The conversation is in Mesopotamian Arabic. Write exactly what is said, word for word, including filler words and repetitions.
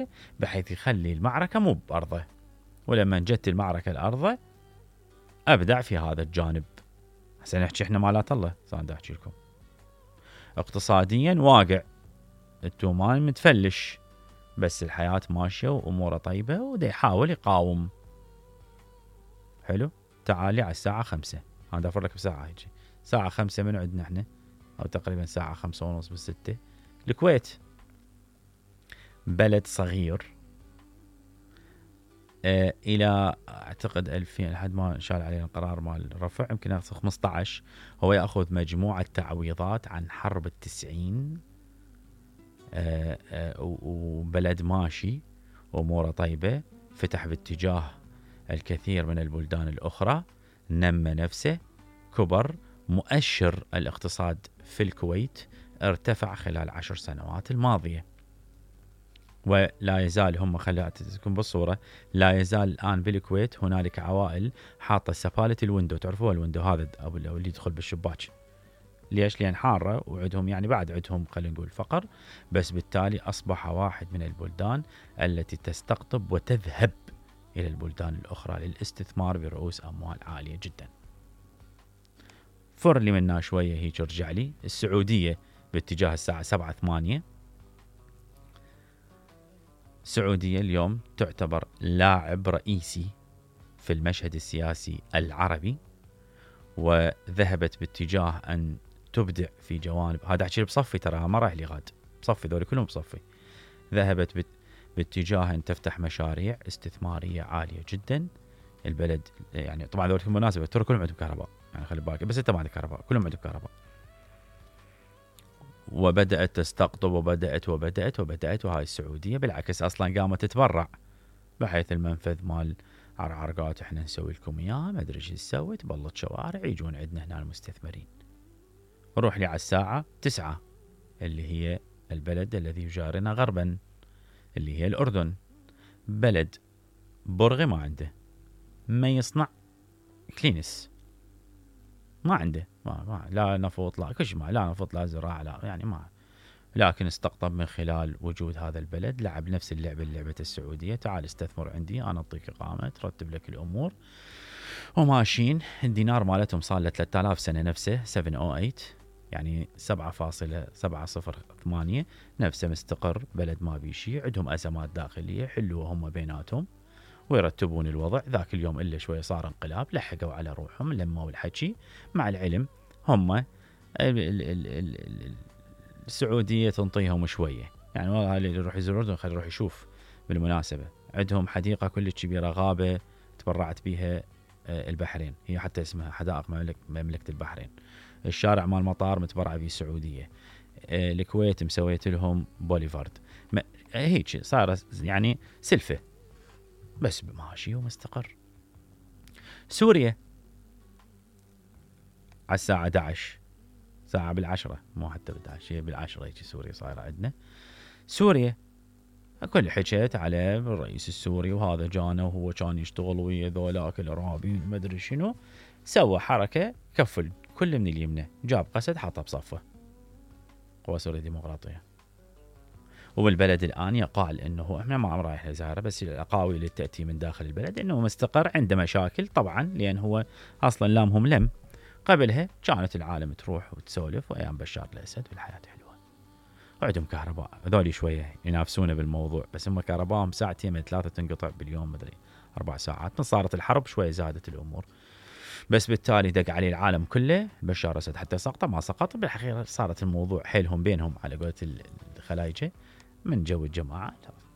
المعركة بحيث يخلي المعركة مو بأرضه، ولما جت المعركة الأرض أبدع في هذا الجانب. هسه نحكي احنا مالات الله، صار احكي لكم اقتصاديا واقع، التومان متفلش، بس الحياة ماشية وأموره طيبة ودا يحاول يقاوم. حلو، تعالي على الساعة خمسة، أنا أفر لك بساعة هيجي، ساعة خمسة من عندنا احنا، أو تقريبا ساعة خمسة ونص بالستة. الكويت بلد صغير، اه إلى أعتقد ألفين لحد ما شال علينا القرار مال الرفع يمكن ياخذ خمسة عشر، هو يأخذ مجموعة تعويضات عن حرب التسعين. اه اه وبلد ماشي وأموره طيبة، فتح باتجاه الكثير من البلدان الأخرى، نمى نفسه، كبر، مؤشر الاقتصاد في الكويت ارتفع خلال عشر سنوات الماضية. ولا يزال هم، خليكم بالصورة، لا يزال الآن بالكويت هنالك عوائل حاطة سفالة الويندو، تعرفوها الويندو هذا أو اللي يدخل بالشباك. ليش؟ لأن حارة وعدهم يعني بعد عدهم خلينا نقول فقر، بس بالتالي أصبح واحد من البلدان التي تستقطب وتذهب إلى البلدان الأخرى للاستثمار برؤوس أموال عالية جدا. فر لي منها شوية هيك ارجع لي السعودية باتجاه الساعة سبعة ثمانية. السعودية اليوم تعتبر لاعب رئيسي في المشهد السياسي العربي، وذهبت باتجاه أن تبدع في جوانب، هذا أحكي بصفي ترى ما رايح لي غاد، بصفي ذولي كلهم بصفي. ذهبت بت باتجاه أن تفتح مشاريع استثمارية عالية جدا. البلد يعني طبعا ذولي بالمناسبة ترى كلهم عندهم كهرباء، يعني خلي بالك، بس انت ما عندك كهرباء، كلهم عندهم كهرباء. وبدأت تستقطب وبدأت وبدأت وبدأت وهاي السعودية بالعكس أصلا قامت تتبرع، بحيث المنفذ مال عرعرقات احنا نسوي لكم اياه، ما ادري ايش تسوي، تبلط شوارع يجون عندنا هنا المستثمرين. روح لي على الساعة تسعة اللي هي البلد الذي يجارنا غربا اللي هي الأردن. بلد برغي ما عنده، ما يصنع كلينس، ما عنده، ما, ما لا نفط لا كل ما لا نفط لا زراعة لا يعني ما، لكن استقطب من خلال وجود هذا البلد، لعب نفس اللعبة اللي لعبة السعودية، تعال استثمر عندي أنا أعطيك إقامة ترتب لك الأمور، وماشيين. الدينار مالتهم صار له ثلاثة آلاف سنة نفسه سبعمية وثمانية، يعني سبعة فاصلة سبعة صفر ثمانية، نفسه مستقر، بلد ما بيشي، عندهم أزمات داخلية حلوة هم بيناتهم ويرتبون الوضع. ذاك اليوم إلا شوية صار انقلاب، لحقوا على روحهم لما الحكي، مع العلم هم ال ال ال ال السعودية تنطيهم شوية، يعني والله اللي يروح يزور الأردن خليه يروح يشوف. بالمناسبة عندهم حديقة كلش كبيرة، غابة تبرعت بها البحرين، هي حتى اسمها حدائق مملكة, مملكة البحرين. الشارع مال المطار متبرع به السعودية. الكويت مسويت لهم بوليفارد، هيك صار يعني سلفة، بس ماشي ومستقر. سوريا على الساعة أحد عشر، ساعة بالعشرة، مو حتى بالعشرة، هي بالعشرة هيك سوريا صايرة عندنا. سوريا كل حكيت على الرئيس السوري، وهذا جانا وهو كان يشتغل ويا ذولاك الارهابيين ما ادري شنو، سوى حركة كفل كل من اليمنى، جاب قسد حطه بصفه، قوى سوريا الديمقراطية. وبالبلد الآن يقال أنه إحنا ما رايح نزاره، بس الأقاويل اللي تأتي من داخل البلد أنه مستقر، عنده مشاكل طبعا لأن هو أصلا لامهم لم. قبلها كانت العالم تروح وتسولف وأيام بشار الأسد والحياة حلوة، وعندهم كهرباء. هذول شوية ينافسونه بالموضوع، بس هم كهرباءهم ساعتين من ثلاثة تنقطع باليوم، مدري أربع ساعات. من صارت الحرب شوية زادت الأمور، بس بالتالي دق عليه العالم كله بشار الأسد حتى سقط ما سقط. بالحقيقة صارت الموضوع حيلهم بينهم على قولة الخلايجة من جو الجماعة،